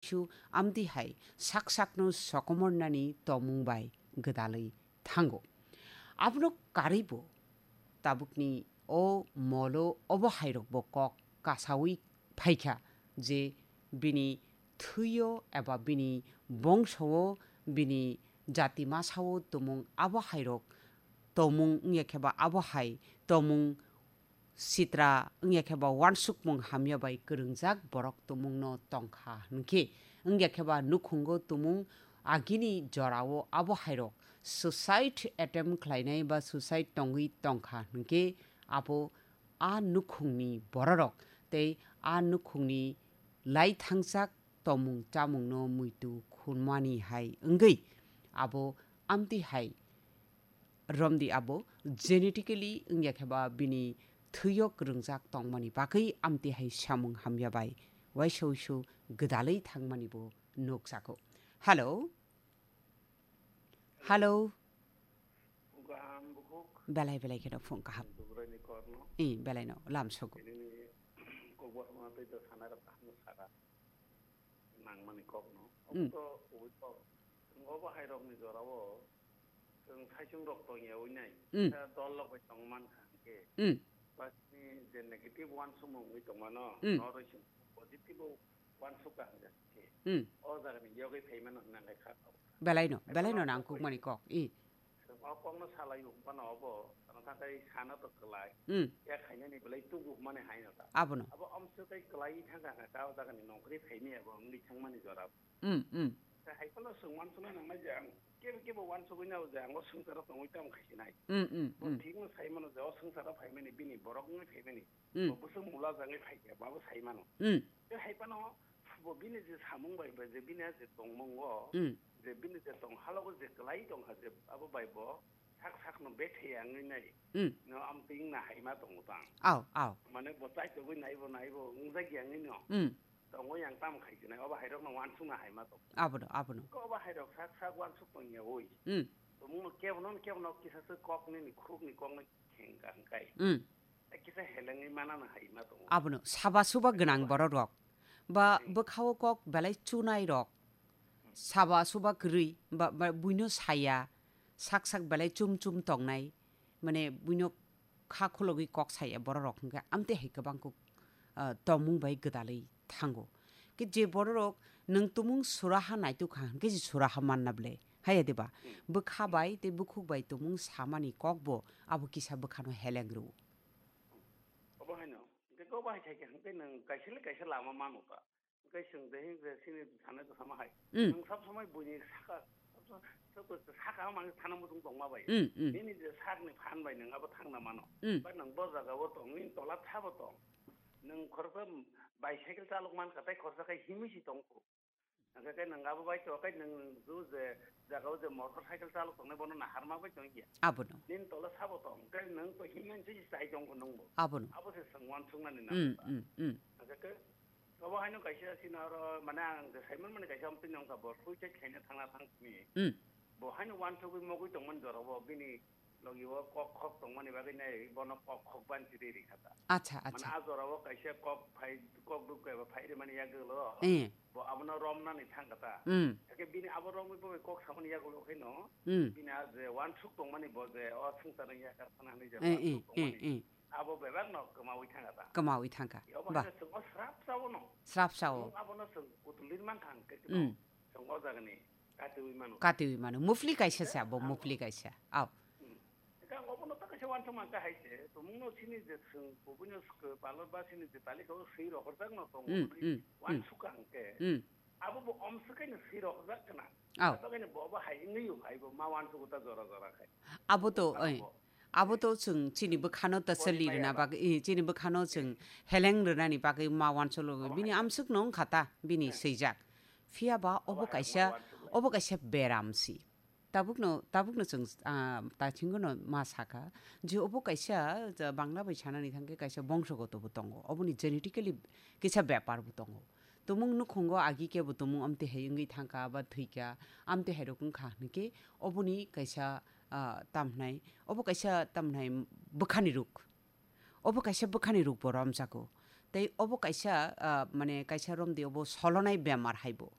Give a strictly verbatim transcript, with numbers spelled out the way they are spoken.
chu amtwi hai sak sakno sokomornani tongmung bai gwdalwi thango. Abono karwibo tabukni o molo obo hairokbo kok kasaui phaikha je bini thwio eba bini bongso-o, bini jati masa-o tongmung abo hairok tongmung wngya khe ba abo hai tongmung sitra wngya khe ba wansukmung hamya bai kwrwngjak borok tongmungno tongkha hwnkhe, wngya khe ba nukhungo tongmung agini jorao abo hairok suicide attempt khlainai ba suicide tongwi tongkha hwnkhe abo a nukhungni bororok tei a nukhungni lai thangjak tongmung chamungno muitu khunmani hai wngwi abo amtwi hai romdi abo genetically wngya khe ba bini thwio kwrwngjak tongmani bagwi amtwi hai samung hamya bai waisa uisu gwdalwi thangmani bo nukjago. Hello? Hello? Gaham bukhuk. Belai belai kheno phung kaham. Dubraini korno. I, belai no, lam sogo. Ini ni kokbo hama tei to sana rok kaham saka. Nangmani kokno. Mm. Obo to, obo to, obo hairokni jorao chwng saichung rok tongya ui nai. Mm. Kisa dol rok bai tong man kha hwnkhe. Mm. Bas ni je negative wansukmung ui tongmano, Mm. noroi chwng positive o wansuk kha hwnkhe. Mm. O jaga ni yogwi phaimano hwnna kha. Belai no, belai no nangkukmani kok. I. Chwng o kokno salai o, phano obo, ano thakai sana to kwlai. Mm. Ya khainani belai tubu hwnmani hai no ta. Abono. Abo amswk kai kwlai thangkha kha, ta o jaga ni nongkhorwi phaimani abo wngwi thangmani jora. Mm, mm. Ta hai phano chwng wansukna nangnai je ang kebo kebo wansugwi nao je ang o swngcharo tongwi tamo khai sinai. Mm, mm, Bo mm. thik no sai mano je o swngcharo phaimani bini borok wngwi phaimani. Mm. Bo bwswk mula jagwi phai khe, bo abo sai mano. Mm. Tei hai phano bo bini je samung bai, bai je bini je tongmung o, Mm. je bini je tong halogo je kwlai tong kha je abo bai bo sak sak no bethe ya wngwi nai. Mm. No am ting na hai ma tongo tang. Aw, aw. Mane bo chai togwi nai bo nai bo wngjak ya wngwi no. Mm. Tongo yang tam khai sinai obo hai rok no wansuk na hai ma tong. Abono, abono. Ko obo hai rok sak sak wansuk tong ya oi. Mm. Tomung no kebo no kebo no kisa se kok ni ni khuk ni kok no kheng kang kai. Mm. Kisa helengwi manana hai ma tongo. Abono saba suba gwnang borok rok. Ba Hmm. bwkhao kok belai chunai rok. Saba suba kwrwi ba, ba buino saya. Sak sak belai chum chum tongnai. Mane buino kha khulogwi kok saya borok rok hwnkhe amtwi hai kwbang kok, ah, tongmung bai gwdalwi thango. Khe je borok rok nwng tumung suraha naituk kha hwnkhe je suraha manna ble. Haya diba? Hmm. Bwkha bai tei bukhuk bai tumung samani kok bo abo kisa bwkhano heleng rw. Obo haino. Hwnkhe obo hai khaikhe hwnkhe nwng kaisa le kaisa lama mano ta. Hwnkhe chwng de hwnkhe chini sanai to sama hai. Mm. Nwng sab samai buini saka, sab sa-, sab sa-, saka mani thana muchung tongma bai. Mm, mm. Nini je sakni phan bai nwng abo thangna mano. Mm. Ba nwng bo jaga o tong, nini tola thabo tong. Nwng khoroksa bicycle chalok man kha, tei khoroksa khe himwi si tong kho. Hwnkhe khe nwng abo bai to, khe nwng ju je jaga o je motor cycle chalok tongnai bono naharma bai tong ya. Abono. Nini tola sabo tong, khe nwng to himwi si chai tong kho nwng bo. Abono. Abo se chwng wansuknani Mm, nango ta. Mm, mm. Hwnkhe khe obo haino kaisa chini oro, mane, ang je saimon mani kaisa amtwi nongkha bo suicide khaina thangna thang simi. Mm. Bo haino wansugwi mogwi tongmani jorabo bini logi o kok khok tongmani bagwi nai bono kok khok banchi ri ri kha ta. Acha, mane acha. A jorao kaisa kok phai, kok duk kaiba phai ri mani yagulo. Eh. Bo abono romnani thang kha ta. Mm. Hake bini abo romwi bo kok samani yagulo khe no. Mm. Bini a je wansuk tongmani bo je o swngcharni yakar phana hinwi je Eh, wansuk eh, eh, tongmani. Eh. Abo bebak no kwmawi thangkha ta. Kwmawi thangkha. Obo Ba. Haino chwng o srap sao no. Srap sao. Chwng abono chwng kutul lir mankha hwnkhe Mm. chwng o jagani katiwi mano. Katiwi mano. Mufli kaisa se abo, Ang mufli kaisa. Aw. Hmm. Hwnkhe ang obono ta kaisa wansuk mankha hai se. Tumungno sini je chwng kubuino swkhe palor ba sini je talikha o swi rohorjak no tongo. Mm, mm, mm. Wansuk ang khe. Mm. Abo bo omswk kaino swi rohorjak kana. Aw. Abo kaino bo, bo hai wngwi hai bo ma wansuk ta jora jora khai. Abo to, Abo oi. Abo to chwng chini bwkhano ta Boni chali maya rwna ba. Bagwi, i, chini bwkhano chwng heleng rwnani bagwi ma wansuklo. Abo Bini hai. Amswkno wngkha ta, bini Eh. Swijak. Phiya ba Abo obo hai kaisa, ma wansuklo. Obo kaisa beram si. Tabukno, tabukno chwng, ah, ta thingono ma sakha je obo kaisa, ja, Bangla bai sanani thangkhe kaisa bongsogoto bo tongo. Oboni genetically kisa bepar bo tongo. Tumung nukhungo agi kebo tumung amtwi hai wngwi thangkha ba thwikha, amtwi hai rok wngkha hwnkhe oboni kaisa, ah, tamhnai, obo kaisa tamhnai bwkhani ruk. Obo kaisa bwkhani ruk bo romjago. Tei obo kaisa, ah, mane kaisa romdi obo solonai bemar hai bo.